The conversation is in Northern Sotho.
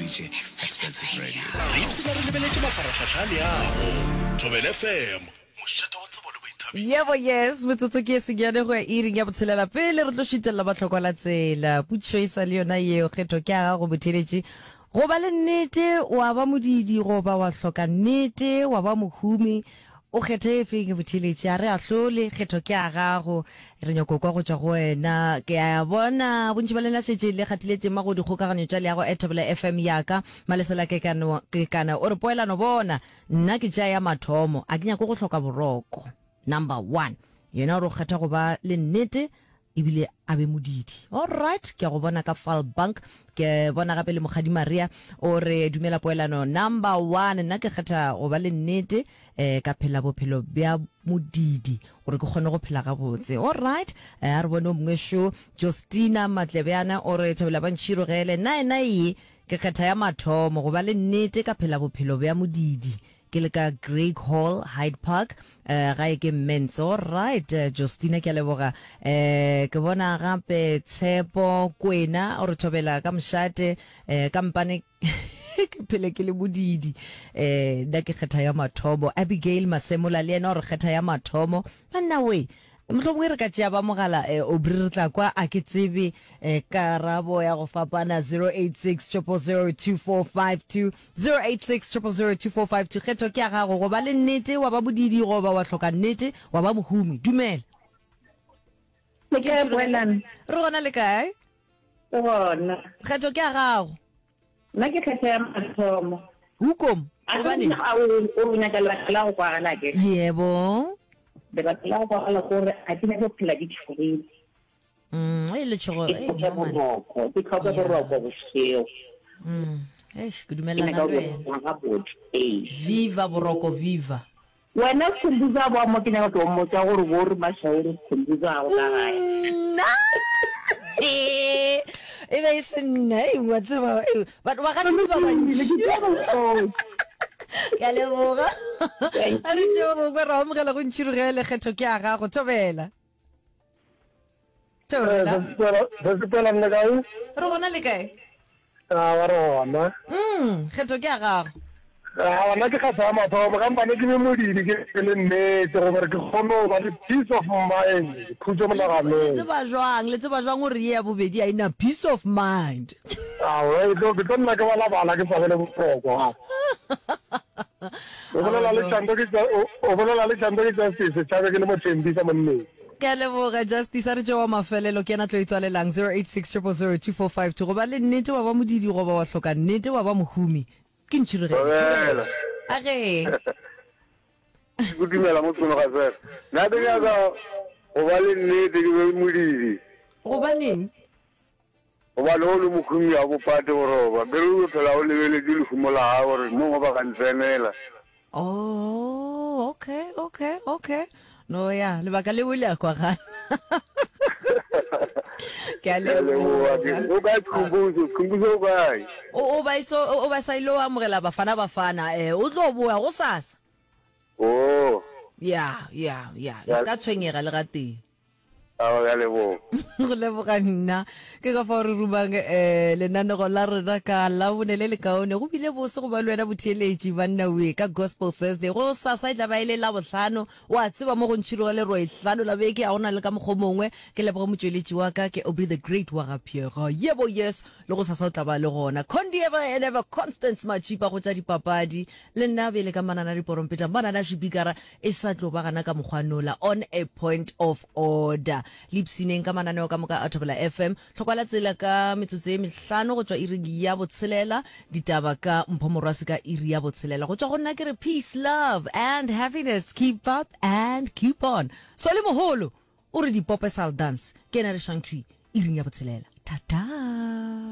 theeleditše Expensive Radio. Re ipshina re lebeletše mafarahlahla a leago. Thobela FM, mošate wa tsebo le boithabišo. Yebo yes, metsotso ke e senyane go ya iring ya botshelela pele re tlo šutelela bahlokwa la tsela. Potšišo e sa le yona yeo, kgetho ke ya gago motheeletši. Go ba le nnete wa ba modiidi goba wa hloka nnete wa ba mohumi, o kgethe efeng motheeletši? A re ahlole, kgetho ke ya gago. Re nyako kwa go tšwa go wena. Ke a bona bontši ba lena šetše le kgathile tema go dikgokaganyo tša leago at Thobela FM ya ka. Malesela Kekano, Kekana o re poelano bona, nna ke tšea ya mathomo, a ke nyake go hloka boroko. Number one. Yena o re o kgetha go ba le nnete ebile a be modidi. Alright, ke a go bona ka Vaalbank. Ke bona gape le Mokgadi Maria o re dumela poelano number one, nna ke kgetha go ba le nnete eh, ka phela bophelo bja modidi gore ke kgone go phela gabotse. Alright, eh, a re bone o mongwe šo Justina Matlebjana o re thobela ba ntšhirogele, nna ena ye ke kgetha ya mathomo go ba le nnete ka phela bophelo bja modidi. Ke le ka Greig Hall, Hyde Park, eh, gae ke Mentz. All right, eh, Justina, ke a leboga. Eh, ke bona gape Tshepo Kwena o re thobela ka mošate, eh, ka mpane ke phele ke le modidi. Eh, nna ke kgetha ya mathomo. Abigail Masemola le yena o re kgetha ya mathomo. Banna we, Mohlomongwe re ka tšea ba mogala eh, Aubrey re tla kwa a ke tsebe eh, karabo ya go fapana 086 000 2452 086 000 2452 kgetho ke ya gago go ba le nnete wa ba bodidi goba wa hloka nnete wa ba mohumi dumela Le kae Poelane? Re gona le kae? Re gona. Kgetho ke ya gago. Nna ke kgetha ya mathomo. Hoekom? Gobaneng? A o nyaka lebaka la go kwagala ke? Yebo. Lebaka la go kwagala ke gore ga ke nyake go phela ke tšhogile. Mm, e letšhogo. Ke tlhoka boroko, ke tlhoka boroko bošego. Mm, eish, ke dumelelana le wena. Gabotse, ee. Viva boroko, viva. Wena Skhumbuzo a boa mo ke nyaka tlo mmotša gore bo re Mashauri Skhumbuzo a go ka gae. Nna e be e se nna e wa tseba batho ba gaši ba bantši. Ke a leboga. A re tšeo bongwe ra amogela go ntšhirogele kgetho ke ya gago thobela. Thobela. Sesipela nne kae? Re gona le kae? A wa re gona. Mm, kgetho ke ya gago. A gona ke kgatha ya mathomo ka mpane ke be modidi ke be le nnete gore ke kgone go ba le peace of mind, khutšo Le monaganong. tseba jwang, le tseba jwang gore ye ya bobedi a ena peace of mind? Aowa, e tlo, ke tlo nna ke balabala ke sa be le boroko. O bolela le Chando ke, o bolela le Chando ke Justice, Tšhabe ke le Mothembisa monneng. Ke a leboga Justice, a re tšeo wa mafelelo ke yena tlo e tswalelang 086 000 2452 go ba le nnete wa ba modidi goba wa hloka nnete wa ba mohumi ke ntšhirogelo. Thobela. A ge. Ke dumela mo Sekolo ga Sera. Nna ke nyaka go ba le nnete ke be modidi. Gobaneng? Gobane o le mohumi ga bo pate go roba. Ke re o yo phela o lebeletše lehumo la gago gore mongwe ba ka ntsenela. Oh, okay, okay, okay. No ya, lebaka leo le a kwagala. Ke a leboga. O kae Skhumbuzo? Skhumbuzo o kae? O ba iso o ba sa ile o amogela Bafana Bafana eh o tlo boya gosasa. Oh. Ya, ya, ya. Le ska tshwenyega le gatee. Aowa, ke a leboga. Go leboga nna. Ke ka fao re rumang um lenanego la rena ka Labone le lekaone. Go bile bose go ba le wena botheeletši banna we ka Gospel Thursday. Go sasa e tla ba e le Labohlano. O a tseba mo go ntšhiroga le Roehlano la beke ga go na le ka mokgwa o mongwe. Ke leboge motšweletši wa ka ke Aubrey the Great wa ga Pheega. Yebo yes, le go sasa o tla ba le gona. Condi ever and ever Constance Matšipa go tša dipapadi. Le nna bjale ka manana diporompeta manana šipikara E sa tlo ba gana ka mokgwa nola on a point of order. Le ipshineng ka mananeo ka moka a Thobela FM. Tlhokwa la tsela ka metsotso ye mehlano go tšwa iring ya botshelela. Ditaba ka Mpho Morwasi ka iri ya botshelela. Go tšwa go nna ke re peace, love and happiness. Keep up and keep on. Solly Moholo o re dipope sal dance. Ke yena re shang thwi iring ya botshelela. Thata.